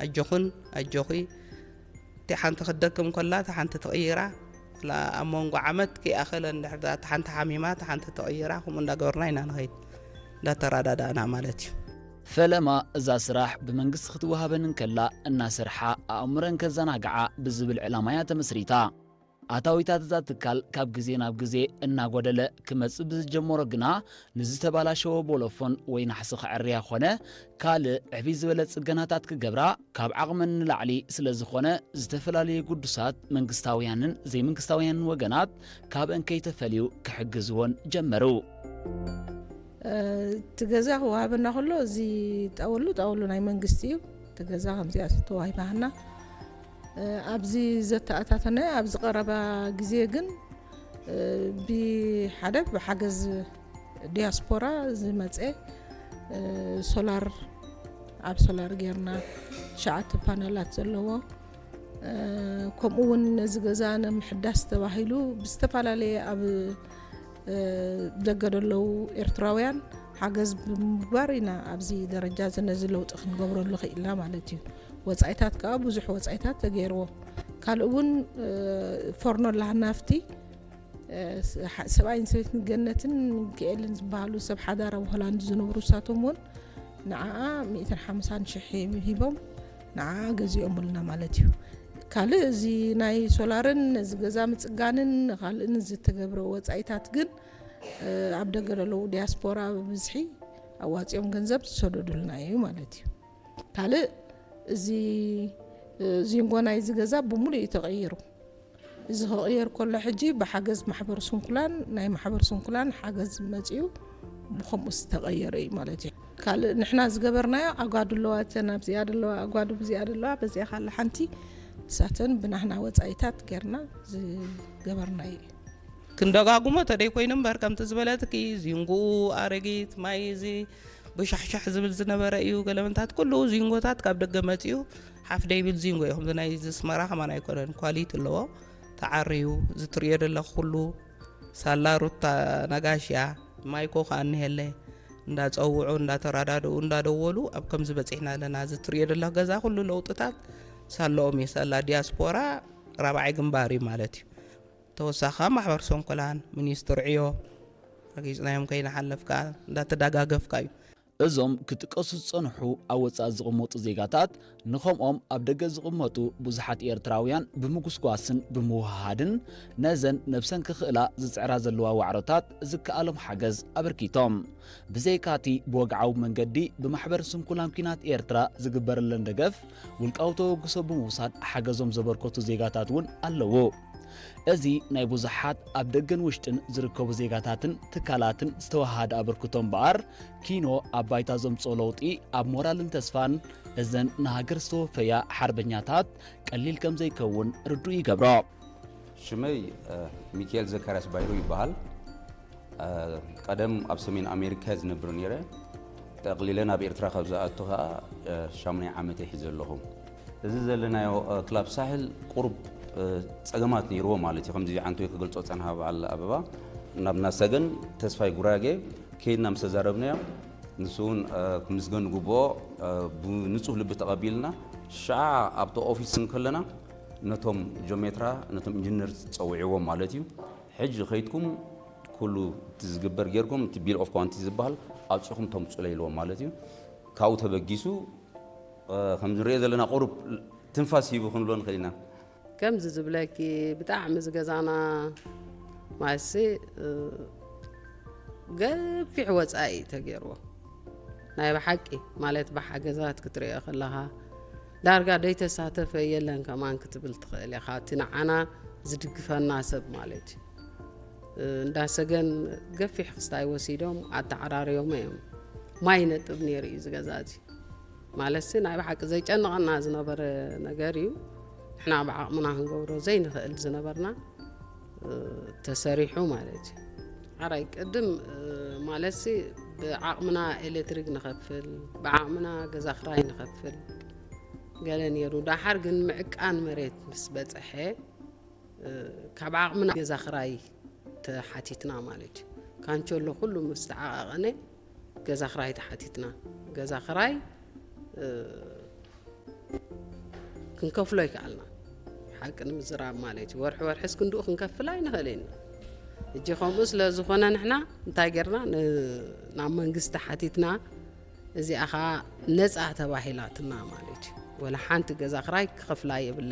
ኣጆኹን ኣጆኺ፣ እቲ ሓንቲ ክትደክም ከላ እቲ ሓንቲ ትቕይራ። ላ ኣብ መንጎ ዓመት ከይኣኸለ እንድሕር እታ ሓንቲ ሓሚማ እታ ሓንቲ ትቕይራ፣ ከምኡ እንዳገበርና ኢና ንኸይድ፣ እንዳተረዳዳእና ማለት እዩ። ፈለማ እዛ ስራሕ ብመንግስቲ ክትወሃበን እንከላ እናሰርሓ ኣእምረን ከዘናግዓ ብዝብል ዕላማ እያ ተመስሪታ። ኣታዊታት እዛ ትካል ካብ ግዜ ናብ ግዜ እናጎደለ ክመጽእ ብዝጀመሮ ግና፣ ንዝተባላሸወ ቦሎፎን ወይ ናሕሲ ክዕርያ ኮነ ካልእ ዕብይ ዝበለ ጽገናታት ክገብራ ካብ ዓቕመን ንላዕሊ ስለ ዝኾነ፣ ዝተፈላለዩ ግዱሳት መንግስታውያንን ዘይመንግስታውያንን ወገናት ካብአን ከይተፈልዩ ክሕግዝዎን ጀመሩ። እቲ ገዛ ክወሃበና ከሎ፣ እዚ ጣወሉ ጣወሉ ናይ መንግስቲ እዩ። እቲ ገዛ ከምዚኣ ተዋሂባህና። ኣብዚ ዘተኣታተነ ኣብዚ ቀረባ ግዜ ግን፣ ብሓደ ብሓገዝ ዲያስፖራ ዝመፀ፣ ሶላር፣ ኣብ ሶላር ጌርና፣ ሸዓተ ፓነላት ዘለዎ፣ ከምኡ እውን ነዚ ገዛ ንምሕዳስ ተባሂሉ ብዝተፈላለየ ኣብ ደገ ዘለዉ ኤርትራውያን ሓገዝ ብምግባር ኢና ኣብዚ ደረጃ እዚ ነዚ ለውጢ ክንገብረሉ ክኢልና ማለት እዩ። ወፃኢታት ከዓ ብዙሕ ወፃኢታት ተገይርዎ። ካልእ እውን፣ ፎርኖ ላሃናፍቲ፣ ሰብኣይን ሰበይትን ገነትን ሚካኤልን ዝበሃሉ ሰብ ሓዳር ኣብ ሆላንድ ዝነብሩ፣ እሳቶም እውን ንዓኣ ሚእትን ሓምሳን ሽሕ ሂቦም ንዓኣ ገዚኦምልና ማለት እዩ። ካልእ እዚ ናይ ሶላርን ነዚ ገዛ ምፅጋንን ካልእን ዝተገብረ ወፃኢታት ግን፣ ኣብ ደገ ዘለዉ ዲያስፖራ ብብዝሒ ኣዋፂኦም ገንዘብ ዝሰደዱልና እዩ ማለት እዩ። ካልእ እዚ ዚንጎ ናይዚ ገዛ ብሙሉእ እዩ ተቐይሩ። እዚ ክቕየር ከሎ ሕጂ ብሓገዝ ማሕበር ስንኩላን፣ ናይ ማሕበር ስንኩላን ሓገዝ መፂኡ ብከምኡ ዝተቐየረ እዩ ማለት እዩ። ካልእ ንሕና ዝገበርናዮ፣ ኣጓዱ ኣለዋ፣ እተን ኣብዚኣ ዘለዋ ኣጓዱ ብዚኣ ዘለዋ፣ በዚኣ ካለ ሓንቲ፣ እሳተን ብናህና ወፃኢታት ጌርና ዝገበርናዮ እዩ። ክንደጋጉሞ ተደይ ኮይኑ እምበር፣ ከምቲ ዝበለትኪ ዚንጉኡ ኣረጊት ማይ እዚ ብሻሕሻሕ ዝብል ዝነበረ እዩ። ገለመንታት ኩሉ ዚንጎታት ካብ ደገ መፂኡ ሓፍ ደይብል ዚንጎ እዩ። ከምዚ ናይ እዚ ኣስመራ ከማን ኣይኮነን፣ ኳሊቲ ኣለዎ፣ ተዓርዩ ዝትርእዮ ዘለኹ ኩሉ። ሳላ ሩታ ነጋሽ እያ፣ ማይኮ ከኣ እኒሀለ፣ እንዳፀውዑ እንዳተራዳድኡ እንዳደወሉ ኣብ ከምዚ በፂሕና ኣለና። ዝትርእዮ ዘለኹ ገዛ ኩሉ ለውጥታት ሳለኦም እዩ። ሳላ ዲያስፖራ ራብዓይ ግንባር እዩ ማለት እዩ። ተወሳኺ ማሕበር ሰንኮላን ሚኒስትር ዕዮ ረጊፅናዮም ከይንሓልፍ ከኣ እንዳተደጋገፍካ እዩ። እዞም ክጥቀሱ ዝጸንሑ ኣብ ወጻኢ ዝቕመጡ ዜጋታት ንኸምኦም ኣብ ደገ ዝቕመጡ ብዙሓት ኤርትራውያን ብምጉስጓስን ብምውህሃድን ነዘን ነብሰን ክኽእላ ዝጽዕራ ዘለዋ ዋዕሮታት ዝከኣሎም ሓገዝ ኣበርኪቶም። ብዘይካቲ ብወግዓዊ መንገዲ ብማሕበር ስንኩላን ኲናት ኤርትራ ዝግበረለን ደገፍ ውልቃዊ ተበግሶ ብምውሳድ ሓገዞም ዘበርከቱ ዜጋታት እውን ኣለዉ። እዚ ናይ ብዙሓት ኣብ ደገን ውሽጥን ዝርከቡ ዜጋታትን ትካላትን ዝተወሃሃደ ኣበርክቶ እምበኣር፣ ኪኖ ኣብ ባይታ ዘምጽኦ ለውጢ ኣብ ሞራልን ተስፋን እዘን ንሃገር ዝተወፈያ ሓርበኛታት ቀሊል ከም ዘይከውን ርዱእ ይገብሮ። ሽመይ ሚካኤል ዘካርያስ ባይሩ ይበሃል። ቀደም ኣብ ሰሜን ኣሜሪካ ዝነብር ነይረ። ጠቕሊለ ናብ ኤርትራ ካብ ዝኣቱ ኸኣ ሻሙናይ ዓመተይ ሒዘ ኣለኹ። እዚ ዘለናዮ ክላብ ሳሕል ቁሩብ ጸገማት ነይርዎ ማለት እዩ። ከምዚ ዓንቶይ ክገልጾ ጸንሃ በዓል ኣበባ ናብና ሰገን ተስፋይ ጉራጌ ከይድና ምስ ተዛረብናዮ፣ ንሱ እውን ክምስገን ግብኦ፣ ብንጹህ ልቢ ተቐቢልና። ሻዓ ኣብቲ ኦፊስ እንከለና ነቶም ጆሜትራ ነቶም ኢንጂነር ጸዊዕዎም ማለት እዩ። ሕጂ ከይድኩም ኩሉ እቲ ዝግበር ጌርኩም፣ እቲ ቢል ኦፍ ኳንቲ ዝበሃል ኣውጺኹም ተምጹለይ ኢልዎም ማለት እዩ። ካብኡ ተበጊሱ፣ ከምዚ ንሪኦ ዘለና ቁሩብ ትንፋስ ሂቡ ክንብሎ ንኽእል ኢና። ከምዚ ዝብለኪ፣ ብጣዕሚ ዝገዛና ማሲ ገፊሕ ወፃኢ እዩ ተገይርዎ። ናይ ብሓቂ ማለት ብሓገዛት ክትሪኦ ከለኻ ዳርጋ ደይተሳተፈ የለን ከማን ክትብል ትኽእል ኢኻ። እቲ ንዓና ዝድግፈና ሰብ ማለት እዩ። እንዳ ሰገን ገፊሕ ክስታይ ወሲዶም ኣተዓራርዮም እዮም። ማይ ነጥብ ነይሩ እዩ ዝገዛ እዚ። ማለትሲ ናይ ብሓቂ ዘይጨንቐና ዝነበረ ነገር እዩ። ንሕና ብዓቕምና ክንገብሮ ዘይንኽእል ዝነበርና ተሰሪሑ ማለት እዩ። ሓራይ ቅድም ማለትሲ ብዓቕምና ኤሌክትሪክ ንኸፍል፣ ብዓቕምና ገዛ ክራይ ንኸፍል ገለ ነይሩ። ዳሓር ግን ምዕቃን መሬት ምስ በፀሐ ካብ ዓቕምና ገዛ ክራይ ተሓቲትና ማለት እዩ። ካንቸሎ ኩሉ ምስ ተዓቓቐነ ገዛ ክራይ ተሓቲትና። ገዛ ክራይ ክንከፍሎ ይከኣልና። ሓቂ ንምዝራብ ማለት እዩ። ወርሒ ወርሒ እስክንድኡ ክንከፍል ኣይንኽእል ኢና። እጂ ከምኡ ስለ ዝኾነ ንሕና እንታይ ጌርና? ን-፣ ናብ መንግስቲ ሓቲትና፣ እዚኣ ኸዓ ነፃ ተባሂላትና ማለት እዩ። ወላ ሓንቲ ገዛ ክራይ ክኸፍላ የብለ